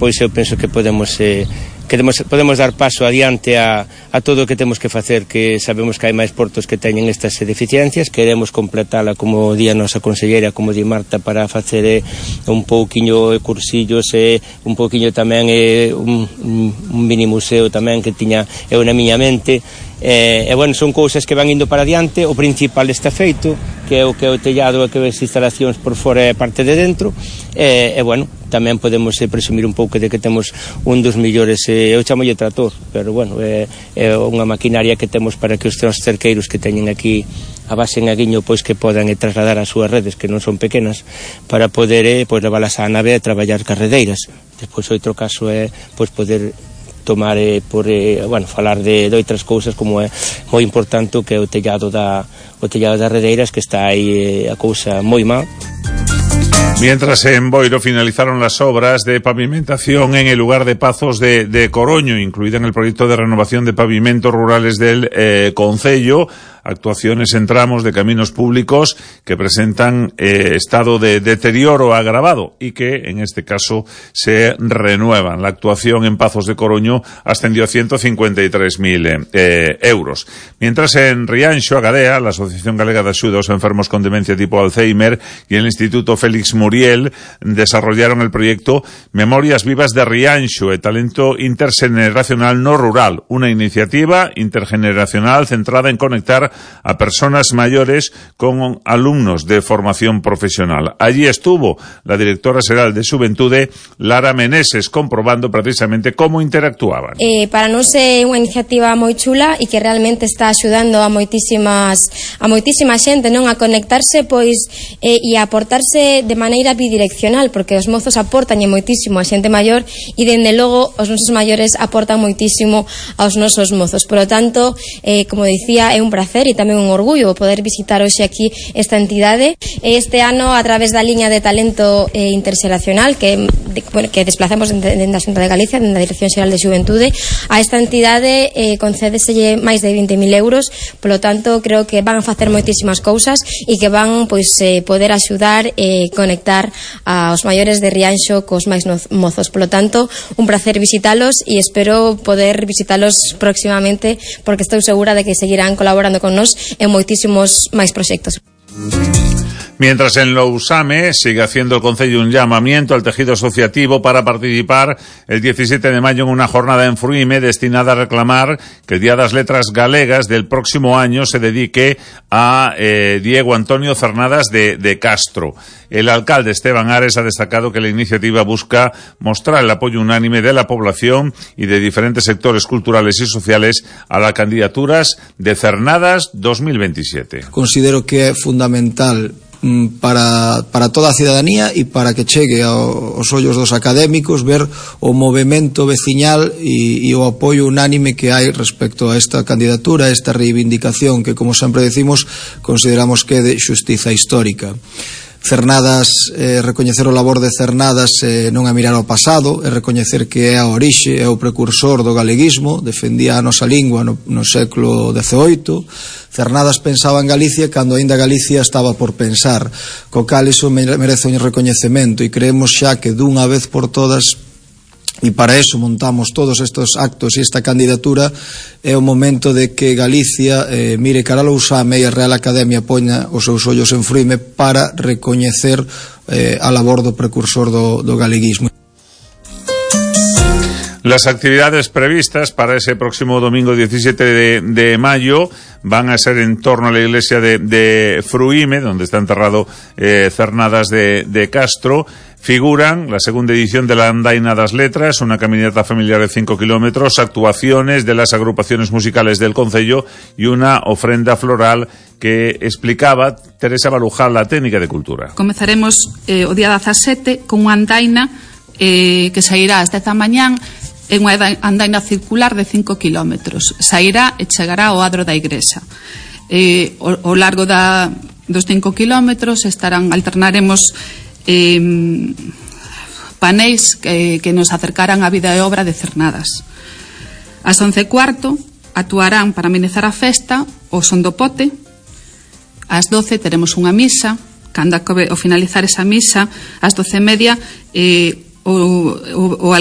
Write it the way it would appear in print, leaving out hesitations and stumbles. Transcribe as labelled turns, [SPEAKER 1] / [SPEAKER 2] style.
[SPEAKER 1] despois eu penso que podemos dar paso adiante a todo o que temos que facer, que sabemos que hai máis portos que teñen estas deficiencias. Queremos completala, como di a nosa conselleira, como di Marta, para facer un pouquiño cursillos e un pouquiño tamén un mini museo tamén que tiña eu na miña mente. Bueno, son cousas que van indo para adiante. O principal está feito, que é o tellado e que as instalacións por fora e parte de dentro, bueno, tamén podemos presumir un pouco de que temos un dos millores, eu chamolle trator, pero bueno, é unha maquinaria que temos para que os cerqueiros que teñen aquí a base en Aguiño, pois que podan trasladar as súas redes, que non son pequenas, para poder levalas á nave a traballar carredeiras. Despois outro caso é poder tomar falar de outras cousas, como é moi importante, que é o tellado das redeiras, que está aí a cousa moi mal.
[SPEAKER 2] Mientras en Boiro finalizaron las obras de pavimentación en el lugar de Pazos de Coroño, incluida en el proyecto de renovación de pavimentos rurales del concello, actuaciones en tramos de caminos públicos que presentan estado de deterioro agravado y que en este caso se renuevan. La actuación en Pazos de Coroño ascendió a 153.000 euros. Mientras en Rianxo, Agadea, la Asociación Galega de Axuda aos Enfermos con Demencia tipo Alzheimer y el Instituto Félix Muriel desarrollaron el proyecto Memorias Vivas de Rianxo e Talento Intergeneracional no Rural, una iniciativa intergeneracional centrada en conectar a personas mayores con alumnos de formación profesional. Allí estuvo la directora xeral de Xuventude, Lara Meneses, comprobando precisamente cómo interactuaban.
[SPEAKER 3] Para nós é unha iniciativa moi chula e que realmente está axudando a moitísima xente, non, a conectarse e a aportarse de maneira bidireccional, porque os mozos aportan moitísimo a xente maior e dende logo os nosos maiores aportan moitísimo aos nosos mozos. Por lo tanto, como dicía, é un placer e tamén un orgullo poder visitar hoxe aquí esta entidade. Este ano, a través da liña de talento interxeracional que desplazamos dende a Xunta de Galicia, dende a Dirección Xeral de Xuventude, a esta entidade concédeselle máis de 20.000 euros. Por lo tanto, creo que van a facer moitísimas cousas e que van poder axudar e conectar aos maiores de Rianxo cos máis mozos. Por lo tanto, un placer visitalos e espero poder visitalos próximamente, porque estou segura de que seguirán colaborando con nós en moitísimos máis proxectos.
[SPEAKER 2] Mientras en Lousame sigue haciendo el Concello un llamamiento al tejido asociativo para participar el 17 de mayo en una jornada en Fruime destinada a reclamar que el Día das Letras Galegas del próximo año se dedique a Diego Antonio Cernadas de Castro. El alcalde Esteban Ares ha destacado que la iniciativa busca mostrar el apoyo unánime de la población y de diferentes sectores culturales y sociales a las candidaturas de Cernadas 2027.
[SPEAKER 4] Considero que é fundamental para toda a cidadanía e para que chegue aos ollos dos académicos ver o movemento veciñal e o apoio unánime que hai respecto a esta candidatura, a esta reivindicación que, como sempre decimos, consideramos que é de xustiza histórica. Cernadas, recoñecer o labor de Cernadas non é mirar ao pasado, é recoñecer que é a orixe, é o precursor do galeguismo, defendía a nosa lingua no século XVIII. Cernadas pensaba en Galicia cando aínda Galicia estaba por pensar, co cal iso merece un recoñecemento e creemos xa que dunha vez por todas, e para eso montamos todos estes actos e esta candidatura, é o momento de que Galicia mire cara a Lousame e a Real Academia poña os seus ollos en Fruime para recoñecer a labor do precursor do galeguismo.
[SPEAKER 2] Las actividades previstas para ese próximo domingo 17 de mayo van a ser en torno a la iglesia de Fruime, donde está enterrado Cernadas de Castro. Figuran la segunda edición de la Andaina das Letras, una caminata familiar de 5 kilómetros, actuaciones de las agrupaciones musicales del concello y una ofrenda floral que explicaba Teresa Balujal, la técnica de cultura.
[SPEAKER 5] Comezaremos o día 17 con unha andaina que sairá ás 10 da mañán en unha andaina circular de 5 kilómetros. Sairá e chegará ao adro da igrexa. Ao largo dos 5 kilómetros alternaremos panéis que nos acercarán á vida e obra de Cernadas. Ás 11:15 actuarán para amenizar a festa o Son do Pote. Ás 12 teremos unha misa. Cando ao finalizar esa misa, ás 12:30, o alcalde